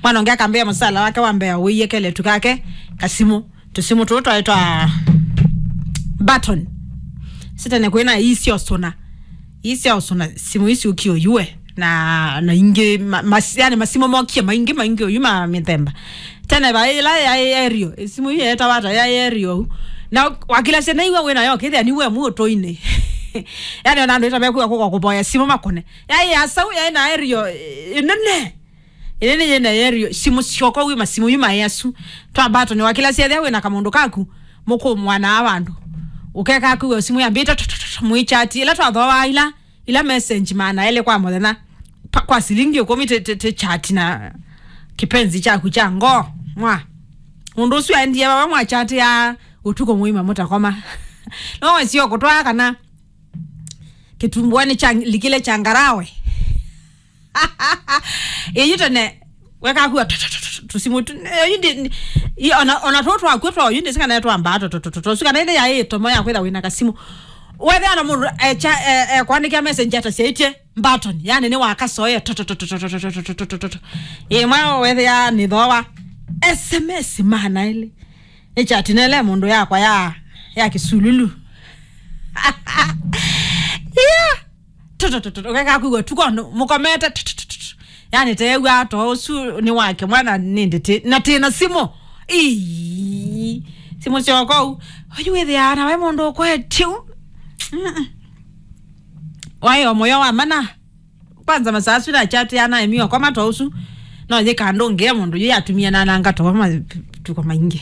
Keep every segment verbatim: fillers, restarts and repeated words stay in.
Mwana ũngĩ akambĩa mũsala wake wa mbea wĩie keletu kake kasimũ. Tũsimũ tũũ twaĩ twa button. Sitene kwĩna ii sya ũsũna. Ii sya ũsũna simũ isi ũkie ũyue. Na, na ingĩ, ma, mas, yani masimũ mokie maingĩ, maingĩ ũyu ma mĩthemba. Tene vaĩ ĩla yaĩ aerial, simũ ii yeetawa ata yaĩ aerial ũu. Na wakilasya naiwe wĩ nayo, kĩthĩa niwe mũtũinĩ. Yani ona andũ ĩtamekwĩwa kũka kũvoya simũ makũne. Yaĩ ya sau, yaĩ na aerial, ĩ, ĩnene. Ĩĩ nĩ yĩna yerio simũ syoko wĩ masimũ yu maĩ asu. Twa button wa kĩla syethĩa wĩ na kamũndũ kaku, mũkũmwanaa vandũ. Ũkeka kwĩw'a simũ yambĩte tu, tu, tu, tu, mũichati. Ĩla twathoa ila, ila message maana elĩ kwa mũthenya. Pa, kwa silingi ĩkũmi ti, ti, ti chat na kipenzi chaku cha ngoo. Mwa. Mũndũ ũsu aendie vava mwa chat ya ũtukũ mũima mũtakoma. No wesio kũtwaa kana kĩtumbuanĩ cha likile cha ngarawe. Ĩyu tene wekakua tũsimũ tu, ĩyu ndi, i, ona, ona tũ twakw'o twa yu ndĩsikana twambaa tũtũtũtũtũsu kana ĩthĩ yaĩ ĩtomo ya kwĩtha wĩna kasimũ. Wethĩa na mũndũ echa ekwandĩkĩa message atasyaĩtye button, yani nĩ wakasoea tũtũtũtũtũtũtũtũtũtũ. Ĩmwe wethĩa nĩ thoa S M S maana elĩ. Nĩ chat nele mũndũ yakwa ya, ya kĩsululu. Yeah. Tũtũtũtũ ũkeka kwĩw'a tuko mũkomete tũtũtũtũ. Yani teew'a to ũsu nĩ wake mwana nĩ ndĩtĩ na tĩna simũ. Ii. Simũ syokou. Oyu wĩthĩaa na we mũndũ ũkwetyu. Waĩ o mũyo wa mana. Kwanza masaa asu na chat ya naĩ mio kwa mato ũsu. No yĩka ndũngĩa mũndũ yĩ atumia na nanga to matuko maingĩ.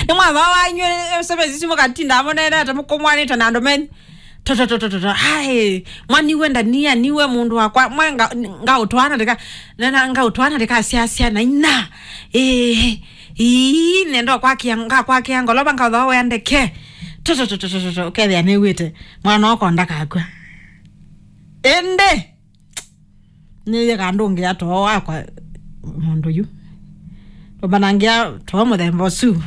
Nĩ mwava wanyu semesi simu katinda amonenete mũkũmwanĩte na andũ menyu. Toto toto toto. Ai, mwaniwe ndania niwe mũndũ wakwa mwe nga ngaũtwana ndika nena ngaũtwana ndika sia sia na ina. Eh, ii nendo kwakia ngakwakia ngoloba ngaũthoa wea ndeke. Toto toto toto. Kethia nĩwĩte mwana ũkonda kakwa. Ende. Nĩyĩka ndũngĩa too wakwa mũndũ yu. Tũmbanangĩa too mũthemba ũsu.